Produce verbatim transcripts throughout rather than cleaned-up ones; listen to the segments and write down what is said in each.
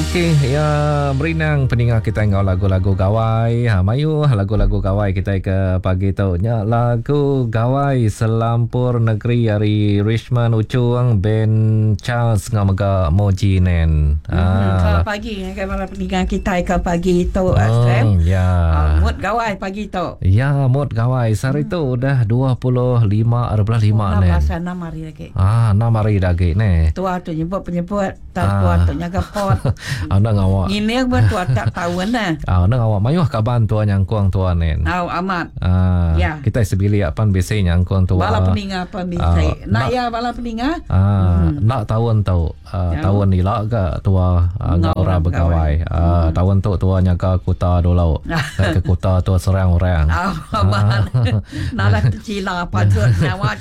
Okey, ya berinang peninga kita ngau lagu-lagu gawai. Ha, mayu lagu-lagu gawai kita ke pagi tu. Nya lagu gawai selampur negeri hari Richmond Ucuang Ben Charles ngau mega Moji Nen. Ha. Hmm, ke pagi ke malam peninga kita ke pagi tu hmm, Sam. Ya. Uh, mood gawai pagi tu. Ya, mood gawai. Sehari hmm. tu udah dua puluh lima bulan lima nen. Pasal enam hari lagi. Ah, enam hari lagi ne. Tua tu nyebut penyebut, tak tua tu nyaga pot. Ah, nak awak. Ngini tua tak tahu nah. Ah, nak awak mayuh kaban tua nyangkuang tua nen. Au amat. Ah, ya. Kita sebilik pan bisi nyangkuang tua. Bala peninga pan bisi. Nak ya bala peninga? Ah, hmm. Nak tahun tu, uh, tahun ila ke tua uh, ngau begawai. Uh, hmm. Tahun tu tua nyaga kota dulu. Ke kota tua serang orang. Ah, amat. Nak tercila patut nyawa.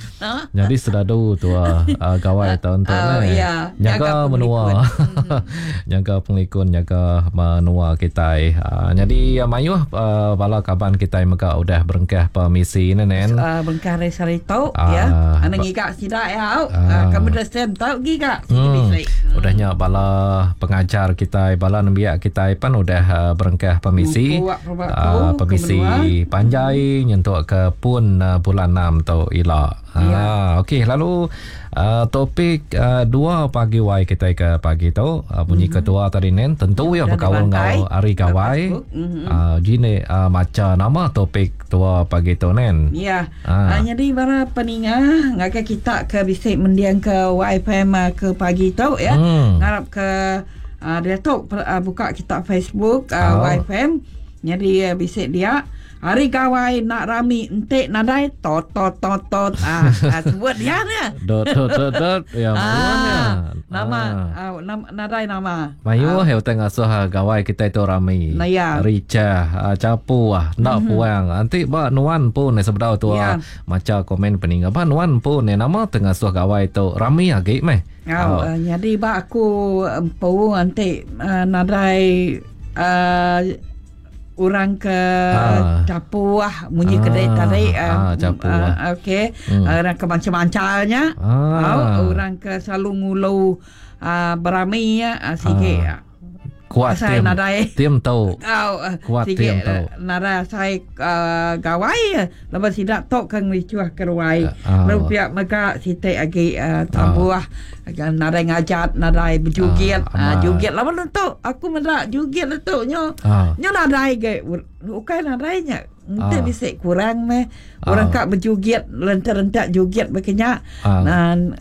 Jadi sedadu tua uh, gawai tahun tu oh, ne. Ya. Nyaga menua. Nyaga penglikun, nyaga menua kita. Uh, jadi mayuh uh, bala kaban kita mega udah berengkah permisi ne nen. Uh, berengkah hari tu uh, ya. Ana ngigak sida ya. Uh, kamu dah sem tau giga. Hmm. Udahnya bala pengajar kita, bala nembiak kita pan udah uh, berengkah permisi. Uh, permisi panjai nyentuk ke pun uh, bulan enam tu ila. Ya. Ah, okey, lalu uh, topik uh, dua pagi wai kita ke pagi tu uh, bunyi mm-hmm. ketua tadi nen tentu ya berkawan ngau hari gawai. Mm-hmm. Uh, jine uh, maca nama topik tua pagi tu nen. Ya. Ah. Uh, jadi para peninga ngagai kita ke bisik mendiang ke Y F M ke pagi tu ya. Mm. Ngarap ke uh, dia tu uh, buka kita Facebook uh, oh. Y F M. Jadi uh, bisik dia hari gawai nak rami entik nadai tot tot tot tot ah, ah sebut dia ni dot dot dot dot ya ah, nama ah. Ah, nama nadai nama mayu ah. Heu tengah asuh gawai kita itu rami nah, ya. Ricah capu ah nak mm-hmm. puang nanti ba nuan pun ni sebedau tu ya. Maca komen peninga ba nuan pun ni nama tengah asuh gawai tu rami agi meh oh. Uh, jadi ba aku empu nanti uh, nadai uh, orang ke ah. capuah bunyi ah. kedai tadi ah, capuah. Uh, okey hmm. Orang ke macam-macamnya ah. Oh, orang ke selalu ngulu uh, berami ya uh, sikit ah. Kuat saya tim nadai tim tau oh, kuat tim tau nadai saya uh, gawai lepas sidak tok ke ngricuah ke ruai uh, lalu pihak mega sitik lagi uh, tambuah uh, nadai ngajat nadai berjugit uh, uh, jugit lama tu aku mendak jugit tu nyo uh. nyo nadai ge ukai nadainya Nanti uh. bisik kurang meh orang uh. kak berjugit rentak-rentak jugit berkenyak uh. Dan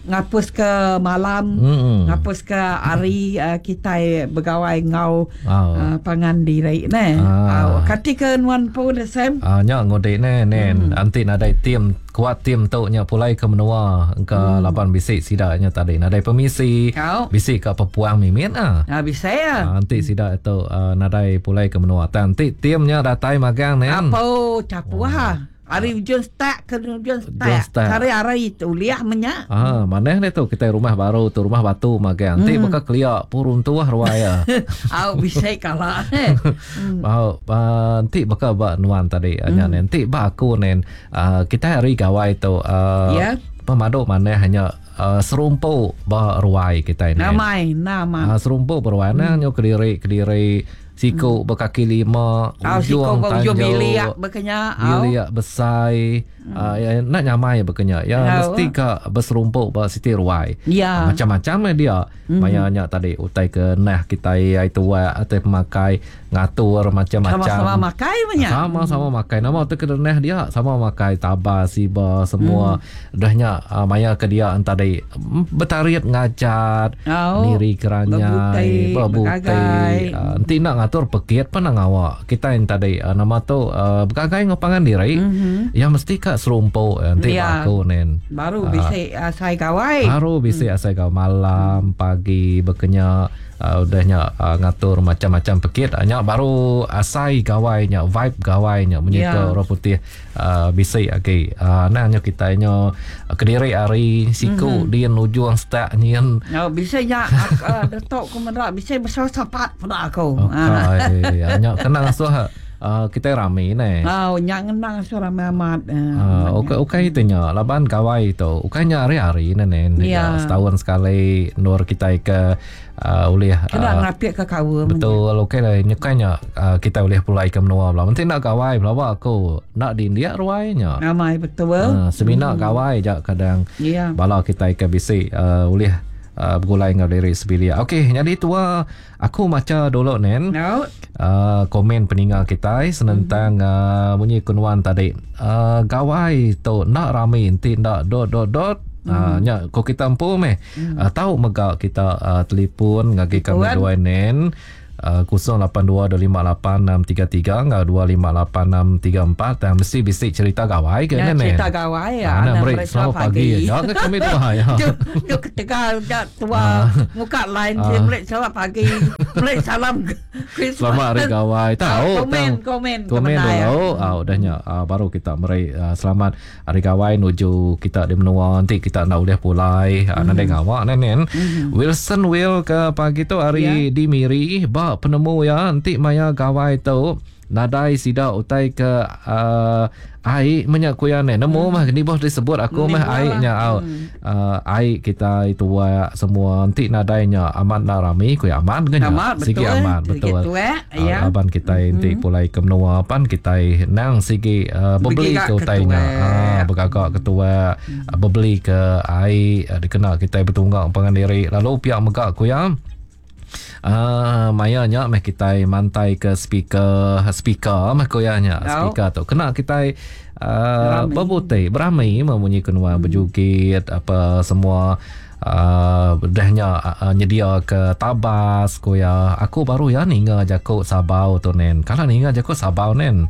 ngapus ke malam, mm-hmm. ngapus ke hari uh, kita begawai ngau oh. uh, pangan diri ne. Ah. Uh, kati ke nuan pun Sam. Ah nya ngodek ne nen. Mm. Anti nadai tim kuat tim tu nya pulai ke menua ke mm. laban bisik sidaknya tadi. Nadai permisi. Kau. Bisik ke pepuang mimit ah. Ah bisik ya. Ah, anti sidak tu uh, nadai pulai ke menua. Nanti timnya datai magang nen. Apa capuah. Oh. Hari ujung start ke ujung start. Hari hari itu liah menyak. Ah, mana ni tu kita rumah baru tu rumah batu magang. Nanti hmm. bakal keliak purun tuah ruaya. Au bisa kalah. Hmm. Au nanti bakal ba nuan tadi anya hmm. nanti ba aku nen uh, kita hari gawai tu uh, yeah. Pemaduk mana hanya uh, serumpu ba ruai kita ini. Namai nama. Uh, serumpu beruai hmm. nyo kediri kediri siku hmm. berkaki lima, oh, ujung tanjung, biliak berkenya, biliak besai, hmm. uh, ya, nak nyamai berkenya. Ya oh. mesti ka berserumpuk ba siti ruai. Ya. Uh, macam-macam dia. Hmm. Mayanya tadi utai ke nah kita ai tua atau pemakai ngatur macam-macam. Sama-sama makai banyak. Sama-sama hmm. makai. Nama tu ke nah dia sama makai taba siba semua. Hmm. Dahnya uh, maya ke dia tadi bertarit ngajat, oh. niri keranyai, berbutai. Uh, nanti nak ngatur pekit pun nak ngawak. Kita yang tadi uh, nama tu uh, bergagai ngopangan diri. Mm-hmm. Ya mesti kat serumpuk nanti ya. Aku nen. Baru uh, bisik asai gawai. Baru bisik mm. asai gawai malam, pagi berkenya uh, udahnya uh, ngatur macam-macam pekit. Nya baru asai gawainya, vibe gawainya bunyi ya. Ke orang putih uh, bisik lagi. Uh, nah nya kita nya kediri hari siku mm-hmm. din ujung start nyin. Oh bisik nya uh, detok ku merak bisik besar sapat pada aku. Okay. Nya kena ngasuh uh, kita rami ne. Oh, nya ngenang suara amat. Uh, okey okey itu nya laban gawai tu. Ukainya hari-hari ne nen. Ya. Setahun sekali nur kita ke uh, ulih kena uh, ngapik ke kawa. Betul, okey lah nyekainya uh, kita boleh pulai ke menua belah. Mesti nak gawai belah aku nak di India ruainya. Ramai betul. Uh, semina hmm. gawai je kadang. Ya. Bala kita ke bisi uh, ulih Uh, bergulai dengan diri sebilik. Okey, jadi tua aku baca dulu nen. No. Uh, komen peninga kita senentang mm-hmm. uh, bunyi kunuan tadi. Uh, gawai tu nak rami enti nak dot dot dot. Mm. Uh, nya ko kita empu meh. Mm. Uh, tahu mega kita uh, telefon ngagi kami dua nen. Uh, kosong lapan dua dua lima lapan enam tiga tiga enggau dua lima lapan enam tiga empat dan mesti bisik cerita gawai ke ya, nen. Cerita gawai ya. Ana beri selamat pagi. Ya ke kami tua ya. Tu ketika tua muka lain dia beri selamat pagi. Beri salam Christmas. Selamat hari gawai. Tahu komen komen komen dulu. Ah udahnya baru kita beri selamat hari gawai nuju kita di menua nanti kita nak boleh pulai. Nanti ngawak nen nen. Wilson Will ke pagi tu hari di Miri ba penemu ya nanti maya gawai tu nadai sida utai ke uh, ai menyak kuya ne nemu hmm. mah ni boh disebut aku mah ai nya au hmm. uh, ai kita itu wa semua nanti nadainya amat nak rami kuya amat ke nya sigi amat betul, betul eh? Ya. Uh, aban kita nanti hmm. pulai ke menua pan kita nang sigi uh, bebeli ke utainya ah bergagak ketua hmm. bebeli ke ai uh, dikena kita bertunggak pangan diri lalu pihak megak kuya Ah, maya nya meh kita mantai ke speaker speaker meh koyanya speaker tu kena kita uh, berbuti beramai memunyi kenua hmm. berjugit apa semua uh, dahnya uh, nyedia ke tabas koya aku baru ya ninga jakuk sabau tu nen kalau ninga jakuk sabau nen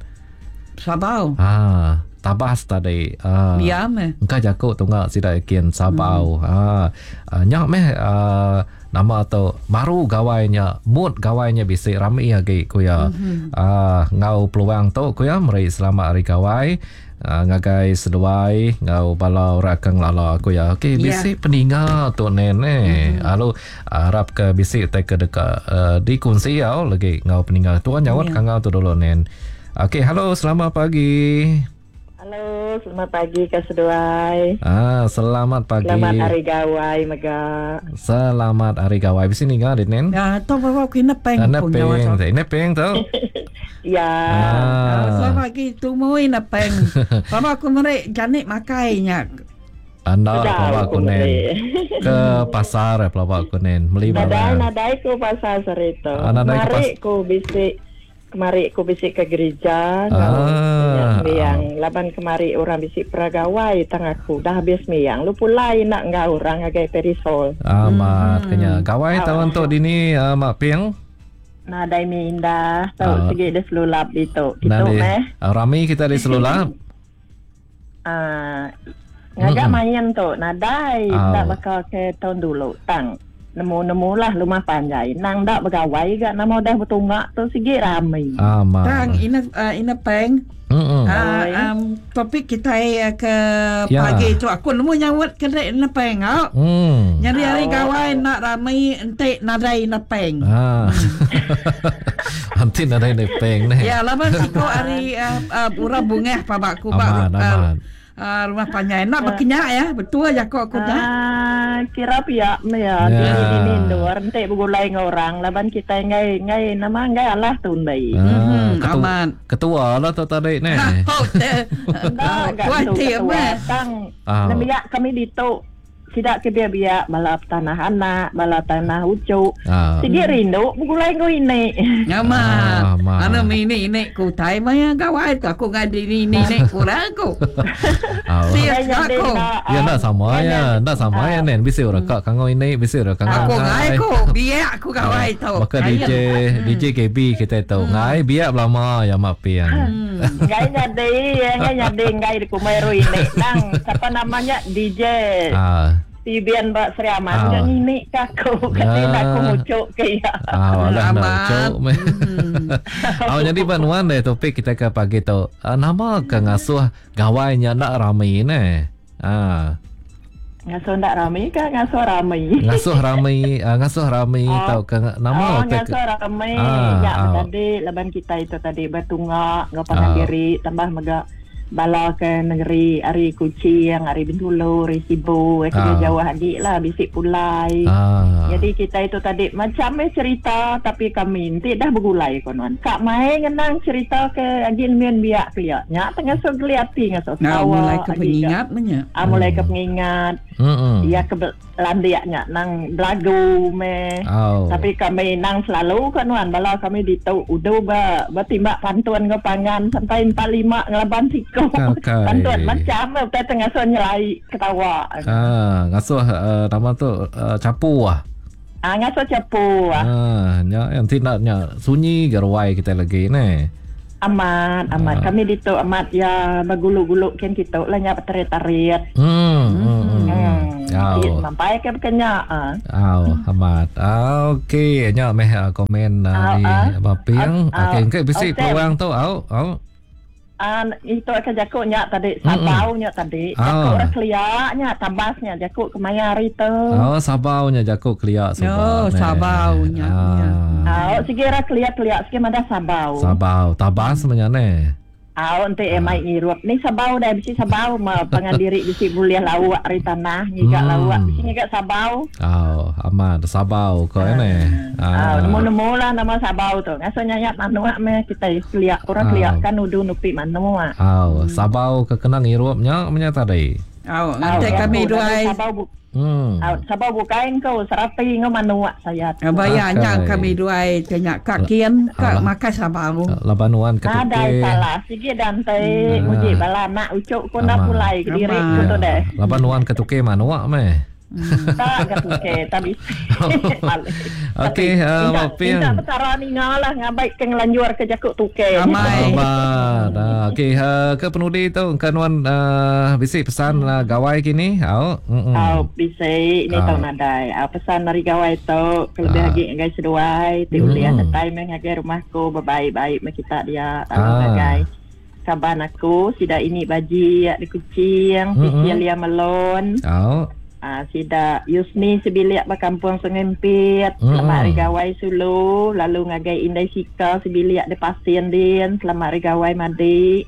sabau ah tabas tadi ah ya meh engka jakuk tunga sida yakin sabau hmm. ah uh, nyak meh uh, nama tu baru gawainya mood gawainya bisik rami lagi kuya mm-hmm. ah ngau peluang tu kuya meri selamat hari gawai uh, ngagai seduai ngau bala orang kang lala kuya okey bisik yeah. peninga tu nene mm-hmm. lalu harap ke bisik tai ke dekat uh, dikongsi au lagi ngau peninga tuan nyawat yeah. kangau tu dulu nen. Okey, halo selamat pagi. Halo, selamat pagi ke seduai. Ah, selamat pagi. Selamat hari gawai mega. Selamat hari gawai. Di sini ngah Nen. Ya, tu bawa kena peng pun nyawa. Ini peng tu. Ya. Ah. Selamat pagi tumui na peng. Bawa aku merek janik makainya. Anda bawa aku nen ke pasar ya bawa aku nen beli barang. Nadai nadai ku pasar serito. Mari ku bisik kemari ku bisik ke gereja ah. Miang laban kemari orang bisik peragawai tang aku dah habis miang lu pulai nak ngau orang agai perisol amat hmm. Kenya gawai ah. Tahun tu dini uh, mak ping nadai mi indah tau ah. Segi di selulap itu gitu meh rami kita di selulap ah ngagak hmm. Main tu nadai ah. Tak bakal ke tahun dulu tang nemu-nemu lah rumah panjai nang dak bergawai gak nama dah bertunggak tu sigi rami. Aman. Tang ina uh, ina peng. Mm-mm. Uh, um, topik kita uh, ke ya. Pagi tu aku nemu nyawat ke ina peng au. Mm. Nyari hari gawai nak rami entik nadai ina peng. Ah. Entik nadai ina peng neh. Ya laban siko hari uh, uh, urang bungah pabakku bak. Aman, aman. Uh, rumah panjai nak berkenyak ya betul aja kok aku dah ah kira pihak ya di di luar entek bergulai dengan orang laban kita ngai ngai nama ngai alah tundai ah, ketua, aman ketua lah tu tadi ni oh dah ketua tang nemiak kami ditu tidak ke biak-biak bala tanah anak bala tanah ucuk ah. Sigi rindu bergulai ngau ini nyaman ana mini ini ku tai maya gawai tu aku ngadi ni ni ni kurang aku siap aku ya nak sama ya nak sama ya nen bisi orang kak kangau ini bisi orang kangau aku ngai aku biak aku gawai tu maka D J D J K B kita tahu ngai biak lama ya mak piang ngai nyadi ngai nyadi ngai di kumeru ini nang siapa namanya D J ah Tibian Mbak Sri Aman ah. Yang ini kaku kata nak aku mucuk ke ya. Ah, alah nak mucuk. Oh, jadi banuan deh topik kita ke pagi tu. Uh, nama ke ngasuh gawainya nak rami ne. Ah. Ngasuh ndak rami ke ngasuh rami? Ngasuh rami, uh, ngasuh rami oh. Tau ke nama oh, ngasuh rami. Ah, ya ah. Tadi laban kita itu tadi bertunga ngau pangan ah. diri tambah mega bala ke negeri ari Kuching, ari Bintulu, ari Sibu, eh ah. jauh lagi lah bisik pulai. Ah. Jadi kita itu tadi macam eh cerita tapi kami nanti dah bergulai konon. Kak mai ngenang cerita ke agin mian biak pia. Nya tengah so geliati ngasuh tawa. Mulai ke pengingat nya. Ah mulai ke pengingat. Hmm. Ya ke landiaknya nang belagu me. Oh. Tapi kami nang selalu konon bala kami ditu udu ba bertimbak pantun ke pangan sampai empat lima ngelaban siko. Okay. Pantun macam apa tengah ngasuh nyelai ketawa. Ah, ngasuh uh, nama tu uh, capu ah. Ah, ngasuh capu ah. Ah, nya yang tidaknya sunyi geruai kita lagi ne. Amat, amat. Ah. Kami ditu amat ya berguluk-guluk kan kita lah nya tarik-tarik. Hmm. Hmm. Hmm. Oh. Sampai ke kenya ah. Oh, amat. Ah, okey, nya meh komen uh, di Baping. Okey, engke bisi peluang tu au, au. Ah, itu akan jakuk nya tadi, sabau nya tadi. Jakuk orang keliak nya, tabasnya jakuk kemaya hari tu. Oh, sabau nya jakuk keliak sabau. Oh, sabau nya. Ah, sigi ra keliak-keliak sigi mada sabau. Sabau, tabas nya ne. Ah, ente eh mai ngirup ni sabau dah bisi sabau ma pangan diri bisi boleh lauk ari tanah ngiga hmm. lauk bisi ngiga sabau. Oh, amat sabau ko ne. Ah, nemu-nemu lah nama sabau tu. Ngaso nyayak manuk meh kita keliak orang keliak kan udu nupi manuk. Oh, sabau ke kena ngirup nya nya tadi. Oh, nanti kami dua sabau. Hmm. Ah, sabau bukain kau serapi ngau manuk saya. Bayarnya kami dua tanya kak kian kak makan sabau. Labanuan ke Nadai salah sigi dante muji bala nak ucuk ku nak pulai ke diri ku tu deh. Labanuan ke tuke manuk meh. Tak ke tuke tapi. Okey, uh, minta perkara ni ngalah ngabaik ke ngelanjur ke jakuk tuke. Amat. Okey, uh, ke penudi tu kanuan uh, bisi pesan uh, gawai kini. Au. Au bisi ni tau nadai. Au pesan dari gawai tu kelebih lagi ngagai seduai ti uliah datai meh ngagai rumahku berbaik-baik meh kita dia lalu ngagai kaban aku sida ini baji di Kuching, Cecilia Melon. Au. Ah, sida Yusni sebilik ba kampung Sungai Empit, mm. Selamat hari gawai Sulu, lalu ngagai Indai Sika sebilik di Pasien din, selamat hari gawai Madi,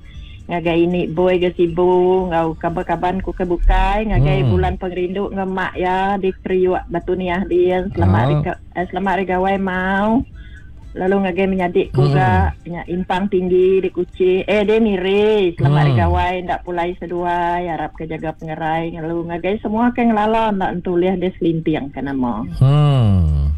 ngagai ini Boy ke Sibu, ngau kaban-kaban ku ke bukai, ngagai mm. bulan pengerindu ngemak ya di Kriuk Batu Niah din, selamat hari oh. eh, selamat hari gawai mau. Lalu ngagai menyadik ku mm. ga nya impang tinggi di Kuching eh dia miri selamat hari mm. gawai ndak pulai seduai harap ke jaga pengerai lalu ngagai semua ke ngelala ndak entuliah dia selintiang ke nama. Hmm.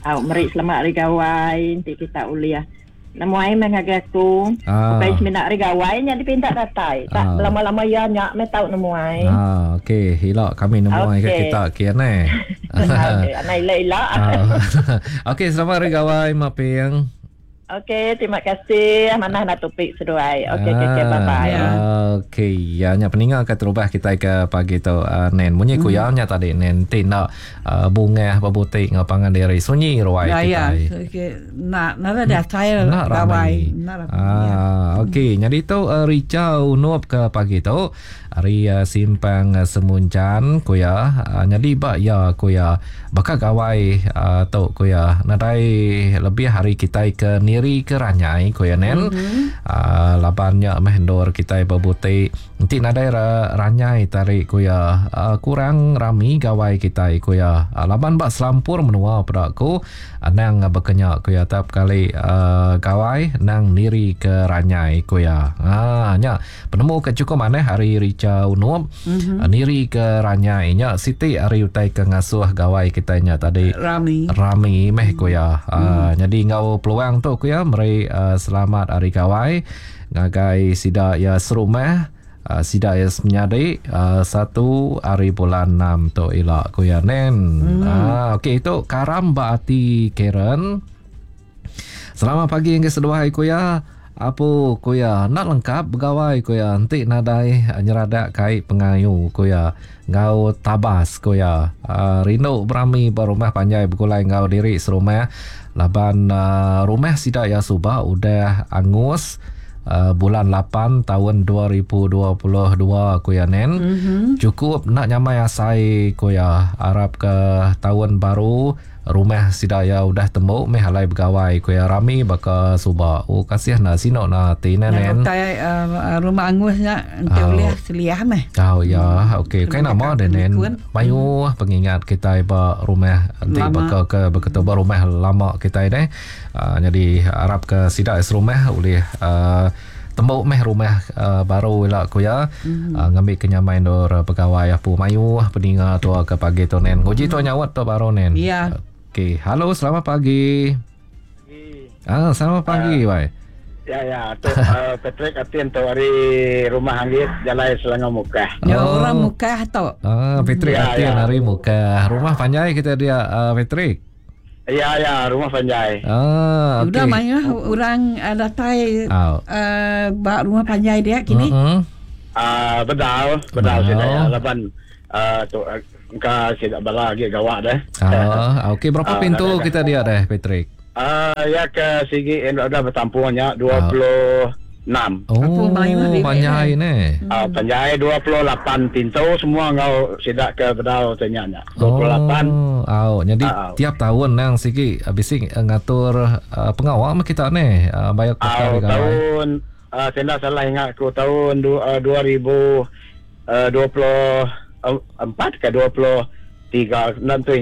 Au meri selamat hari gawai nanti kita uliah. Nemu ai meh ngagai aku. Ah. Bukai semina hari gawai nya dipinta datai. Tak ah. lama-lama ya nya meh tau nemu ai. Ah, okey, hilak kami nemu ai ke kita kian eh. Okey, anak ila-ila. Okey, selamat hari gawai Mak Ping. Okey, terima kasih. Mana nak topik seduai. Okey, okey, okay, bye-bye. Ya. Okey, ya nya peningal ke terubah kita ke pagi tu uh, nen munyi mm. kuyanya tadi nen tindak uh, bunga berbutik ngau pangan diri sunyi ruai ya, kita. Ya, okey. Nak nak ada saya gawai. Nak. Ah, okey. Jadi tu uh, Rica Unup ke pagi tu hari uh, simpang uh, Semuncan kuya uh, jadi bak ya kuya bakal gawai uh, tu kuya nadai lebih hari kita ke niri ke ranyai kuya nen mm-hmm. uh, labannya meh ndor kita berbutik nanti nadai ra, ranyai tarik kuya uh, kurang rami gawai kita kuya uh, laban bak selampur menua pedaku anang uh, berkenyak kuya tap kali uh, gawai nang niri ke ranyai kuya ah nya penemu ke cukup maneh hari Rica Unup mm-hmm. uh, niri ke ranyai nya siti hari utai ke ngasuh gawai kita nya tadi rami rami meh kuya uh, mm. Jadi ngau peluang tu kuya meri uh, selamat hari gawai ngagai sida ya serumah uh, sida ya semenyadi uh, satu hari bulan enam tu ila kuya nen. Mm. Uh, okey itu karam baati Karen. Selamat pagi yang keseduai kuya. Apa kuya nak lengkap begawai kuya entik nadai nyeradak kai pengayu kuya ngau tabas kuya uh, rindu berami berumah panjai bergulai ngau diri serumah laban uh, rumah sida ya suba udah angus uh, bulan lapan tahun dua ribu dua puluh dua ku ya nen. Mm-hmm. Cukup nak nyamai asai ku ya. Harap ke tahun baru rumah sidaya udah tembuk meh alai begawai ku ya rami baka suba. Oh kasih na sino na ti nen. Utai uh, rumah angusnya ente oh. Boleh seliah meh. Oh ya, okey. Kai nama de nen. Mayu pengingat kita ba rumah ente baka ke beketu ba rumah lama kita deh. Uh, jadi harap ke sidak serumah boleh uh, tembuk meh rumah uh, baru ila ku ya. Mm-hmm. Uh, ngambil kenyamai nur pegawai apu mayu peninga tua ke pagi tu nen. Nguji mm. tua nyawat tu baru nen. Ya. Okey, halo, selamat pagi. Pagi. Ah, selamat pagi, uh, wai. Ya, ya, tu uh, Patrick Atin tu hari rumah Anggit Jalai Selangor Mukah. Ya, oh. Orang Mukah tu. Ah, Patrick ya, Atin ya. Hari Mukah. Rumah panjai kita dia uh, Patrick. Ya, ya, rumah panjai. Ah, okey. Udah mayah orang uh, datai oh. uh, bak rumah panjai dia kini. Uh-huh. Ah, uh, bedal, bedal sida ya laban uh, tu ka sida bala lagi gawak dah. Ah, okey, berapa uh, pintu dah, kita dia dah, Patrick? Ah, uh, ya ke sigi dah bertampungnya dua puluh enam. Oh, panjai ni. Ah, panjai dua puluh lapan pintu semua ngau sidak ke bedal tanya nya. dua puluh lapan. Oh, au. Jadi uh, tiap tahun nang sigi bisi ngatur uh, pengawal mah kita ni uh, bayar uh, tahun uh, saya tak salah ingat aku tahun dua ribu dua puluh empat ke dua puluh tiga nanti